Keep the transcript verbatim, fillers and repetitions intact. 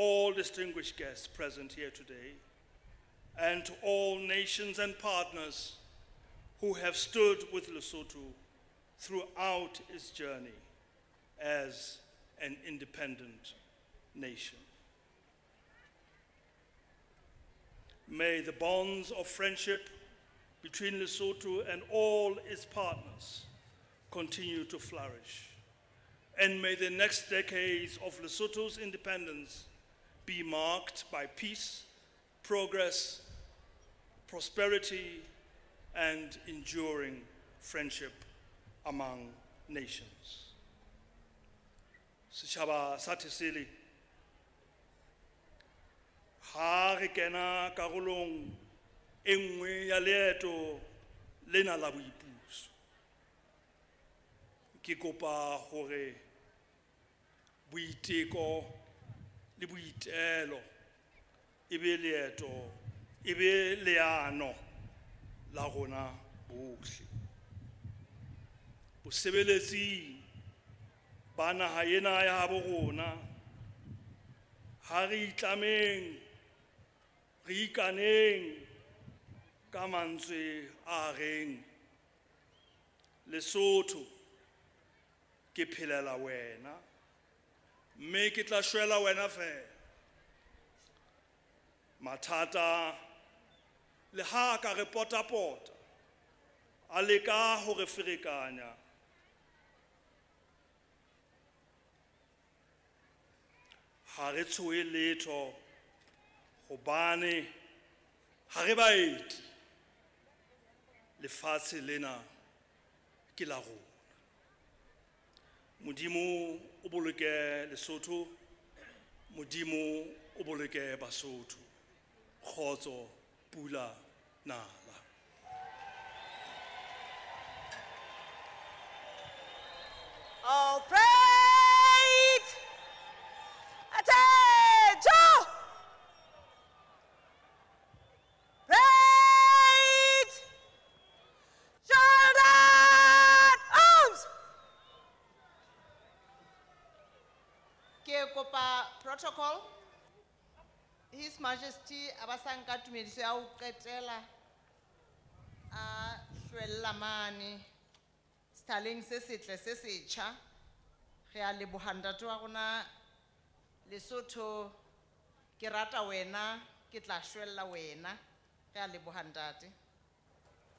all distinguished guests present here today, and to all nations and partners who have stood with Lesotho throughout its journey as an independent nation. May the bonds of friendship between Lesotho and all its partners continue to flourish. And may the next decades of Lesotho's independence be marked by peace, progress, prosperity, and enduring friendship among nations. Setjhaba sa Thesele, ha re kena karolong e nngwe ya leeto lena la boipuso, ke kopa hore boiteko le boitelo e be leeto, e be leano la rona bohle. Bosebeletsing ba naha ena ya habo rona, ha re itlameng, re ikaneng ka mantswe a reng Lesotho ke phelela wena, mme ke tla shwela wena fela. Mathata le ha ka re potapota, a leka ho re ferekanya, ha re tshohe letho hobane ha re baeti, lefatshe lena ke la rona. Modimo o boloke Lesotho, Modimo o boloke Basotho. Kgotso, pula, nala. All prayed. Attention! Prayed. Shoulder arms. Ke kopa protocol. His Majesty a ba sa nka tumediso ya ho qetela a hlwella mane sethaleng se setle se setjha. Re a leboha ntate wa rona Lesotho, ke rata wena, ke tla shwella wena. Re a leboha ntate.